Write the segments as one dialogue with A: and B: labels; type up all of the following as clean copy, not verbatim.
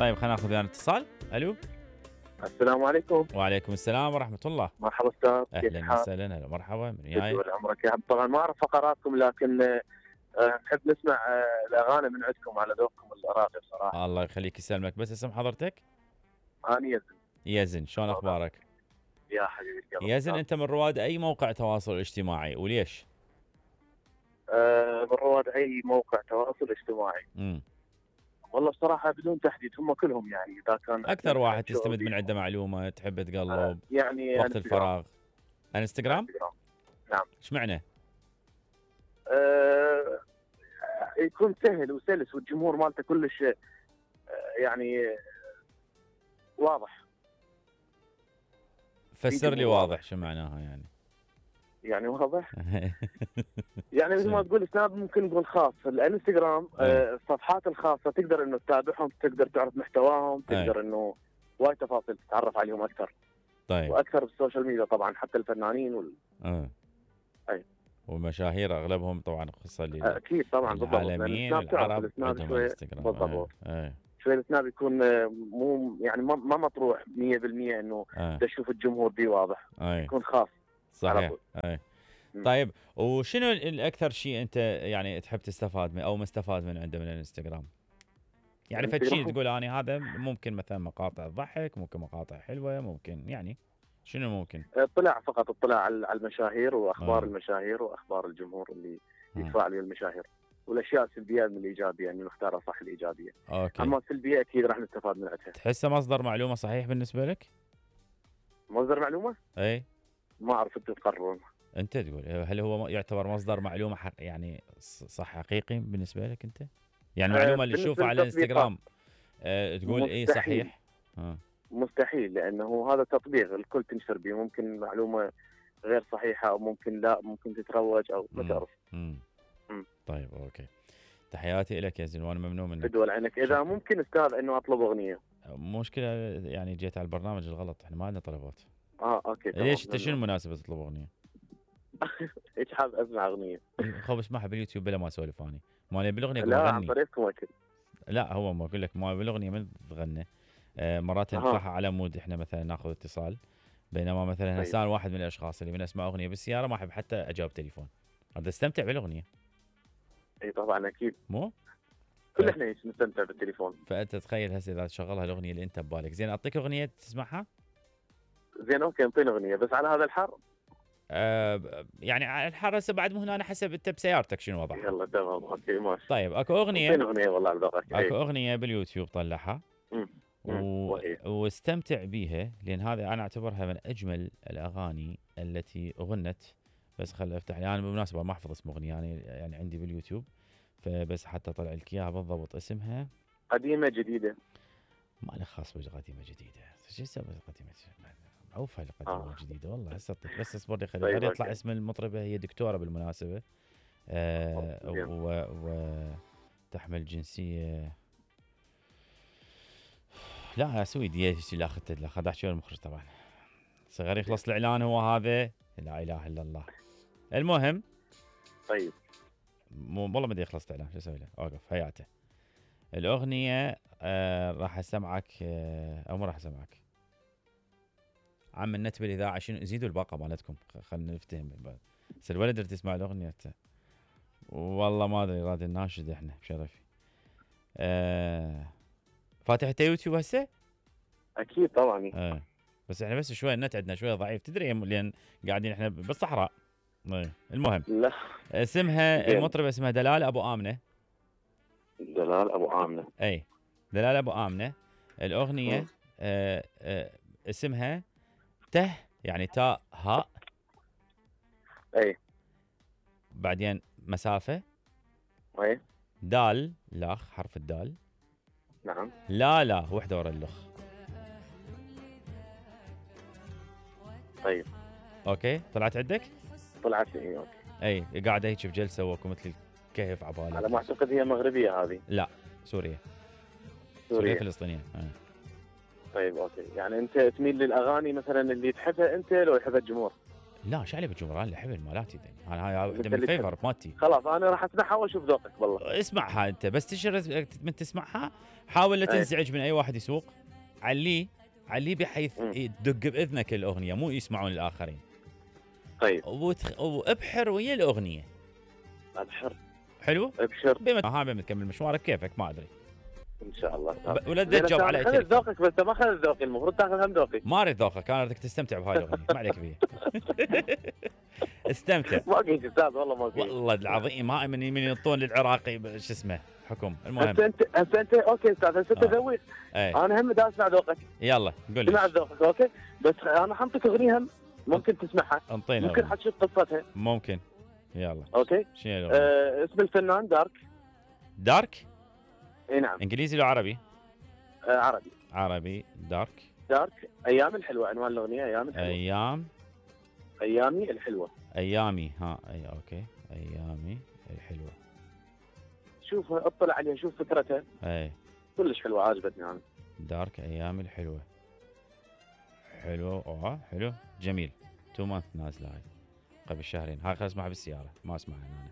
A: طيب خلينا ناخذ ويانا اتصال. الو.
B: السلام عليكم.
A: وعليكم السلام ورحمه الله.
B: مرحبا استاذ.
A: اهلا وسهلا. هلا مرحبا. من وياي؟
B: طول عمرك يا طبعا ما اعرف فقراتكم لكن نحب نسمع الاغاني من عندكم على ذوقكم الراقي بصراحه.
A: الله يخليك يسلمك. بس اسم حضرتك؟
B: انا يزن.
A: يزن، شلون اخبارك؟
B: يا حبيبي
A: يزن، انت من رواد اي موقع تواصل اجتماعي وليش؟
B: من رواد اي موقع تواصل اجتماعي. والله بصراحه بدون تحديد، هم كلهم يعني اذا كان
A: اكثر واحد تستمد من عنده معلومه تحب تقلب
B: يعني
A: وقت الفراغ. انستغرام؟
B: نعم.
A: ايش معنى؟
B: يكون سهل وسلس والجمهور مالته كلش يعني واضح.
A: فسر لي واضح شو معناها يعني؟
B: يعني واضح يعني مثل ما تقول سناب ممكن نقول خاص. الانستغرام الصفحات الخاصه تقدر انه تتابعهم، تقدر تعرف محتواهم، تقدر انه وايد تفاصيل تتعرف عليهم اكثر.
A: طيب.
B: واكثر بالسوشيال ميديا طبعا حتى الفنانين اي
A: والمشاهير اغلبهم طبعا خصوصا
B: اكيد طبعا
A: العالمين العرب عندهم انستغرام.
B: بالضبط. شوي السناب يكون مو يعني ما مطروح 100% انه تشوف الجمهور دي واضح. يكون خاص.
A: صحيح. طيب وشنو الاكثر شيء انت يعني تحب تستفاد من او مستفاد من عنده من الانستغرام؟ يعني فد شيء تقول اني هذا ممكن مثلا مقاطع ضحك، ممكن مقاطع حلوه، ممكن يعني شنو ممكن؟
B: فقط اطلاع على المشاهير واخبار المشاهير واخبار الجمهور اللي يتفاعل ويا المشاهير، والاشياء السلبيه من الايجابيه يعني نختارها صح الايجابيه.
A: أوكي.
B: اما السلبيه اكيد راح نستفاد من عندها.
A: تحسه مصدر معلومه صحيح بالنسبه لك؟
B: مصدر معلومه؟
A: اي
B: ما اعرف، انتم تقررون.
A: انت تقول هل هو يعتبر مصدر معلومه يعني صح حقيقي بالنسبه لك انت؟ يعني المعلومه اللي تشوفها على الانستغرام تقول اي صحيح؟
B: مستحيل، لانه هذا تطبيق الكل تنشر به، ممكن معلومه غير صحيحه او ممكن لا، ممكن تتروج او ما تعرف.
A: طيب اوكي. تحياتي لك يا زين وانا ممنون منك.
B: بدول عينك. اذا ممكن استاذ انه اطلب اغنيه.
A: مشكله يعني جيت على البرنامج الغلط، احنا ما عندنا طلبات.
B: اوكي.
A: ليش انت شنو المناسبه تطلب اغنيه؟
B: ايش حاب اسمع اغنيه؟
A: خب اسمعها باليوتيوب بلا ما اسولف اني. ما بالاغنيه
B: لا عن طريقكم اكيد.
A: لا هو ما اقول لك ما بالاغنيه من تغنى. مرات نطلعها على مود احنا مثلا ناخذ اتصال، بينما مثلا هسه واحد من الاشخاص اللي من اسمع اغنيه بالسياره ما احب حتى اجاوب تليفون، هذا استمتع بالاغنيه.
B: اي طبعا اكيد.
A: مو؟
B: كل احنا نستمتع بالتليفون.
A: فانت تخيل هسه اذا تشغلها الاغنيه اللي انت ببالك. زين اعطيك اغنيه تسمعها؟
B: زين اوكي انطيني اغنيه بس على هذا الحر.
A: يعني على الحر هسه بعد مو هنا، انا حسب انت بسيارتك شنو وضعها.
B: يلا تمام اوكي ماشي.
A: طيب اكو اغنيه.
B: انطيني اغنيه والله على ذوقك.
A: اكو اغنيه باليوتيوب طلعها واستمتع بيها، لان هذه انا اعتبرها من اجمل الاغاني التي غنت. بس خل افتح لي انا بالمناسبه ما احفظ اسم اغنيه يعني عندي باليوتيوب، فبس حتى طلع لك اياها بالضبط. اسمها
B: قديمه جديده.
A: ما له خاص بقديمه جديده. شو اسمها قديمه؟ معروفه القديمه الجديده والله. هسه اعطيك بس اصبر لي خلي يطلع اسم المطربه. هي دكتوره بالمناسبه وتحمل جنسيه لا سويديه. لا اخذت احكي المخرج طبعا. صغير يخلص الاعلان هو هذا. لا اله الا الله. المهم
B: طيب
A: والله ما يخلص الاعلان شو اسوي له؟ اوقف حياته. الاغنيه راح اسمعك او ما راح اسمعك. عم النت بالاذاعه شنو زيدوا الباقه مالتكم خلينا نفتهم. بس الولد اللي تسمع الاغنيه والله ما ادري راد الناشد احنا بشرفي. فاتح يوتيوب هسه؟
B: اكيد طبعا.
A: بس احنا بس شوي النت عندنا شويه ضعيف تدري، لان قاعدين احنا بالصحراء. المهم
B: لا
A: اسمها المطربه اسمها دلال ابو امنه.
B: دلال ابو امنه.
A: اي دلال ابو امنه. الاغنيه اسمها ته يعني تاء هاء.
B: اي
A: بعدين مسافه.
B: اي
A: دال لاخ حرف الدال.
B: نعم.
A: لا وحده ورا اللخ.
B: طيب
A: اوكي طلعت عندك؟
B: طلعت لي اوكي.
A: اي قاعده هيك بجلسه وكو مثل الكهف عبالك.
B: على ما اعتقد هي مغربيه هذه.
A: لا سوريا فلسطينيه.
B: طيب اوكي يعني انت تميل للاغاني مثلا اللي تحبها انت لو يحبها الجمهور؟
A: لا شعلي بالجمهور انا الحبل مالاتي دني. انا هاي واحده
B: أنت
A: من
B: اللي
A: الفيفر مالتي.
B: خلاص انا راح اسمعها واشوف ذوقك والله.
A: اسمعها انت بس تشرد من تسمعها، حاول لا تنزعج من اي واحد يسوق. عليه بحيث تدق باذنك الاغنيه مو يسمعون الاخرين.
B: طيب
A: وابحر ويا الاغنيه.
B: ابحر.
A: حلو؟
B: ابشر.
A: بما تكمل مشوارك كيفك ما ادري.
B: ان شاء الله.
A: ولا تجاوب على
B: خذ ذوقك بس ما خذ ذوقي، المفروض تاخذ هم ذوقي.
A: ما اريد ذوقك، انا اريدك تستمتع بهاي الاغنيه، ما عليك بيها. استمتع.
B: ما قيت استاذ والله ما قيت.
A: والله العظيم هاي من ينطون للعراقي شو اسمه حكم. المهم
B: هسه انت اوكي استاذ، هسه انت ذوق. انا هم دا اسمع ذوقك.
A: يلا قول لي.
B: اسمع ذوقك اوكي، بس انا حنطيك اغنيه هم ممكن تسمعها.
A: انطينا.
B: ممكن حتشوف قصتها.
A: ممكن. يلا.
B: اوكي.
A: شنو
B: اسم الفنان دارك.
A: دارك؟
B: اي نعم.
A: انجليزي لو عربي؟
B: عربي.
A: عربي.
B: دارك ايام الحلوه، عنوان الاغنيه ايام الحلوه. ايامي الحلوه.
A: ايامي اي اوكي. ايامي الحلوه.
B: شوف اطلع عليها، شوف فكرتها.
A: اي
B: كلش حلوه عجبتني انا.
A: دارك ايامي الحلوه. حلو حلو جميل. 2 مانث نازله هاي قبل شهرين. هاي خلاص اسمعها بالسياره ما اسمعها انا.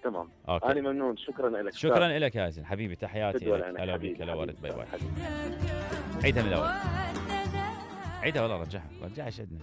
B: تمام.
A: أوكي.
B: انا ممنون، شكرا لك.
A: شكرا لك يا زين حبيبي، تحياتي لك. هلا بك. هلا ورد. باي باي. عيدها من الاول. عيدها والله رجعها شدنا.